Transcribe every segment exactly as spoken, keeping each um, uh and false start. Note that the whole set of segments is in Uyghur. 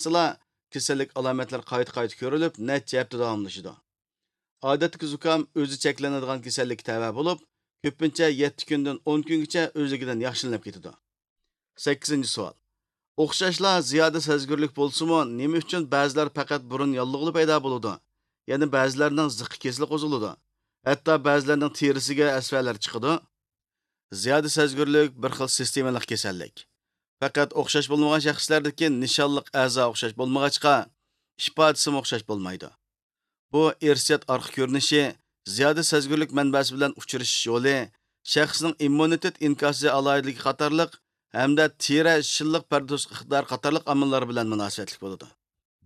ئىشلەتسىلا، كېسەللىك ئالامەتلىرى قايتا-قايتا كۆرۈلۈپ، نەچچە ھەپتە داۋاملىشىدۇ. ئادەتتىكى زۇكام ئۆزى چەكلىنىدىغان كېسەللىككە تەۋە بولۇپ، كۆپىنچە يەتتە كۈندىن ئون كۈنگىچە ئۆزلۈكىدىن ياخشىلىنىپ كېتىدۇ. سەككىزىنچى سوئال. ئوخشاشلا زىيادە سەزگۈرلۈك بولسىمۇ، نېمە ئۈچۈن بەزىلەر پەقەت بۇرۇن ياللۇغىلا پەيدا بولىدۇ؟ يەنە بەزىلەرنىڭ زىققا كېسىلى قوزغىلىدۇ. ھەتتا بەزىلەرنىڭ تېرىسىگە ئەسۋەلەر چىقىدۇ. زىيادە سەزگۈرلۈك بىر خىل سىستېمىلىق كېسەللىك. پەقەت ئوخشاش بولمىغان شەخسلەردىكى نىشانلىق ئەزا ئوخشاش بولمىغاچقا، ئىپادىسىمۇ ئوخشاش بولمايدۇ. بۇ ئىرسىيەت ئارقا كۆرۈنۈشى، زىيادە سەزگۈرلۈك مەنبەسى بىلەن ئۇچرىشىش يولى، شەخسنىڭ ئىممۇنىتېت ئىنكاسى ئالاھىدىلىكى قاتارلىق ھەمدە تېرە شىللىق پەردە توسۇش ئىقتىدارى قاتارلىق ئامىللار بىلەن مۇناسىۋەتلىك بولىدۇ.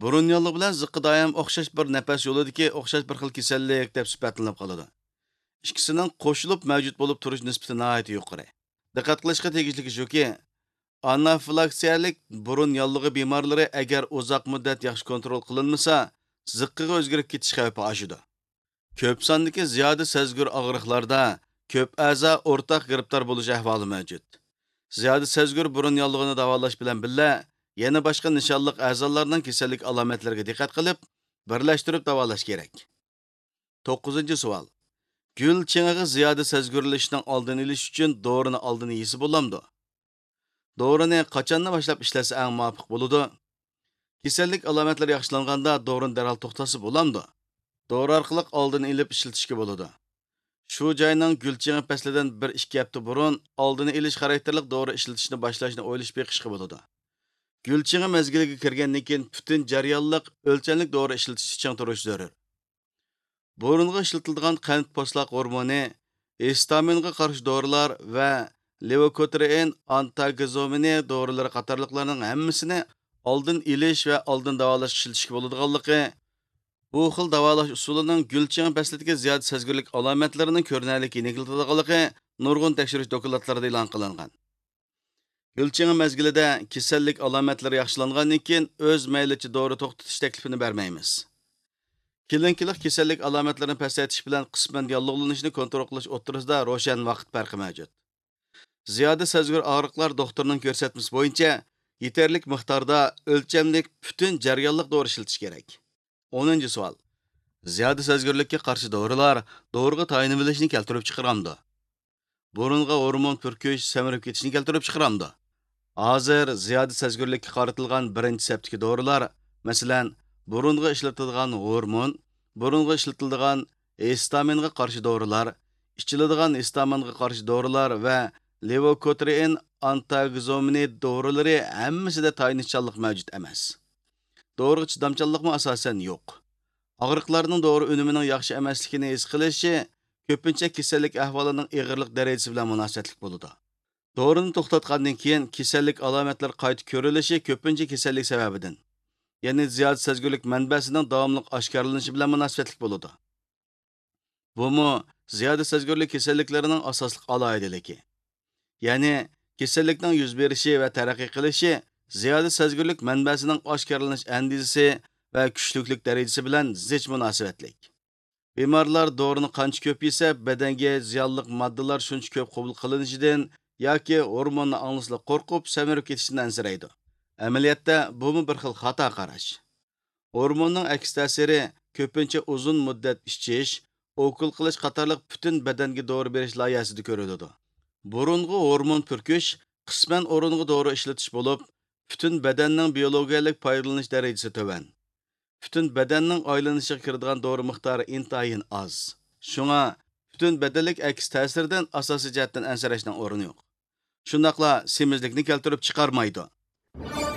بۇرۇن ياللۇغ بىلەن زىققا دائىم ئوخشاش بىر نەپەس يولىدىكى ئوخشاش بىر خىل كېسەللىك دەپ سۈپەتلىنىپ قالىدۇ. ئىككىسىنىڭ قوشۇلۇپ مەۋجۇت بولۇپ تۇرۇش نىسبىتى ناھايىتى يۇقىرى. دىققەت قىلىشقا تېگىشلىكى شۇكى، ئانافىلاكسىيەلىك بۇرۇن ياللۇغى بىمارلىرى ئەگەر ئۇزاق مۇددەت ياخشى كونترول قىلىنمىسا، زىققىغا ئۆزگىرىپ كېتىش خەۋپى ئاشىدۇ. كۆپ ساندىكى زىيادە سەزگۈر ئاغرىقلاردا كۆپ ئەزا ئورتاق گىرىپتار بولۇش ئەھۋالى مەۋجۇت. زىيادە سەزگۈر بۇرۇن ياللۇغىنى داۋالاش بىلەن بىللە، يەنە باشقا نىشانلىق ئەزالارنىڭ كېسەللىك ئالامەتلىرىگە دىققەت قىلىپ، بىرلەشتۈرۈپ داۋالاش كېرەك. توققۇزىنچى سوئال. گۈل چېڭىغا زىيادە سەزگۈرلىشىشنىڭ ئالدىنى ئېلىش ئۈچۈن دورىنى ئالدىن يېسە بولامدۇ؟ دورىنى قاچاندىن باشلاپ ئىشلەتسە ئەڭ مۇۋاپىق بولىدۇ؟ كېسەللىك ئالامەتلىرى ياخشىلانغاندا دورىنى دەرھال توختاتسا بولامدۇ؟ دورا ئارقىلىق ئالدىنى ئېلىپ ئىشلىتىشكە بولىدۇ. شۇ جاينىڭ گۈل چېڭى پەسلىدىن بىر ئىككى ھەپتە بۇرۇن ئالدىنى ئېلىش خاراكتېرلىك دورا ئىشلىتىشنى باشلاشنى ئويلىشىپ بېقىشقا بولىدۇ. گۈل چېڭى مەزگىلىگە كىرگەندىن كېيىن پۈتۈن جەريانلىق ئۆلچەملىك دورا ئىشلىتىشنى چىڭ تۇرۇش زۆرۈر. بۇرۇنغا ئىشلىتىلىدىغان قەنت پوستلاق ھورمونى، ھېستامىنغا قارشى دورىلار ۋە لېۋوكوترىئىن ئانتاگېزومىنى دورىلىرى قاتارلىقلارنىڭ ھەممىسىنى ئالدىن ئېلىش ۋە ئالدىن داۋالاشقا ئىشلىتىشكە بولىدىغانلىقى، بۇ خىل داۋالاش ئۇسۇلىنىڭ گۈل چېڭى پەسلىدىكى زىيادە سەزگۈرلۈك ئالامەتلىرىنى كۆرۈنەرلىك يېنىكلىتىدىغانلىقى نۇرغۇن تەكشۈرۈش دوكلاتلىرىدا ئېلان قىلىنغان. گۈل چېڭى مەزگىلىدە كېسەللىك ئالامەتلىرى ياخشىلانغاندىن كېيىن ئۆز مەيلىچە دورا توختىتىش تەكلىپىنى بەرمەيمىز. كلىنىكىلىق كېسەللىك ئالامەتلىرىنى پەسەيتىش بىلەن قىسمەن ياللۇغلىنىشنى كونترول قىلىش ئوتتۇرىسىدا روشەن ۋاقىت پەرقى مەۋجۇت. زىيادە سەزگۈر ئاغرىقلار دوختۇرنىڭ كۆرسەتمىسى بويىچە يېتەرلىك مىقداردا ئۆلچەملىك پۈتۈن جەريانلىق دورا ئىشلىتىش كېرەك. ئونىنچى سوئال. زىيادە سەزگۈرلۈككە قارشى دورىلار دورىغا تايىنىۋېلىشنى كەلتۈرۈپ چىقىرامدۇ؟ بۇرۇنغا ھورمون پۈركۈش سەمرىپ كېتىشنى كەلتۈرۈپ چىقىرامدۇ؟ ھازىر زىيادە سەزگۈرلۈككە قارىتىلغان بىرىنچى سەپتىكى دورىلار، مەسىلەن، بۇرۇنغا ئىشلىتىلىدىغان ھورمون، بۇرۇنغا ئىشلىتىلىدىغان ھېستامىنغا قارشى دورىلار، ئىچىلىدىغان ھېستامىنغا قارشى دورىلار ۋە لېۋوكوترىئىن ئانتاگېزومىنى دورىلىرى ھەممىسىدە تايىنىشچانلىق مەۋجۇت ئەمەس. دورىغا چىدامچانلىقمۇ ئاساسەن يوق. ئاغرىقلارنىڭ دورا ئۈنۈمىنىڭ ياخشى ئەمەسلىكىنى ھېس قىلىشى كۆپىنچە كېسەللىك ئەھۋالىنىڭ ئېغىرلىق دەرىجىسى بىلەن مۇناسىۋەتلىك بولىدۇ. دورىنى توختاتقاندىن كېيىن كېسەللىك ئالامەتلىرى قايتا كۆرۈلۈشى كۆپىنچە كېسەللىك سەۋەبىدىن، يەنى زىيادە سەزگۈرلۈك مەنبەسىنىڭ داۋاملىق ئاشكارىلىنىشى بىلەن مۇناسىۋەتلىك بولىدۇ. بۇمۇ زىيادە سەزگۈرلۈك كېسەللىكلىرىنىڭ ئاساسلىق ئالاھىدىلىكى. يەنى كېسەللىكنىڭ يۈز بېرىشى ۋە تەرەققىي قىلىشى زىيادە سەزگۈرلۈك مەنبەسىنىڭ ئاشكارىلىنىش ئەندىزىسى ۋە كۈچلۈكلۈك دەرىجىسى بىلەن زىچ مۇناسىۋەتلىك. بىمارلار دورىنى قانچە كۆپ يېسە، بەدەنگە زىيانلىق ماددىلار شۇنچە كۆپ قوبۇل قىلىنىشىدىن ياكى ھورموننى ئاڭلىسىلا قورقۇپ، سەمرىپ كېتىشىدىن ئەنسىرەيدۇ. ئەمەلىيەتتە، بۇمۇ بىر خىل خاتا قاراش. ھورموننىڭ ئەكس تەسىرى كۆپىنچە ئۇزۇن مۇددەت ئىچىش، ئوكۇل قىلىش قاتارلىق پۈتۈن بەدەنگە دورا بېرىش لايىھەسىدە كۆرۈلىدۇ. بۇرۇنغا ھورمون پۈركۈش قىسمەن ئورۇنغا دورا ئىشلىتىش بولۇپ، پۈتۈن بەدەننىڭ بىيولوگىيەلىك پايدىلىنىش دەرىجىسى تۆۋەن. پۈتۈن بەدەننىڭ ئايلىنىشىغا كىرىدىغان دورا مىقدارى ئىنتايىن ئاز. شۇڭا پۈتۈن بەدەنلىك ئەكس تەسىرىدىن ئاساسىي جەھەتتىن ئەنسىرەشنىڭ ئورنى يوق. شۇنداقلا سېمىزلىكنى كەلتۈرۈپ چىقارمايدۇ.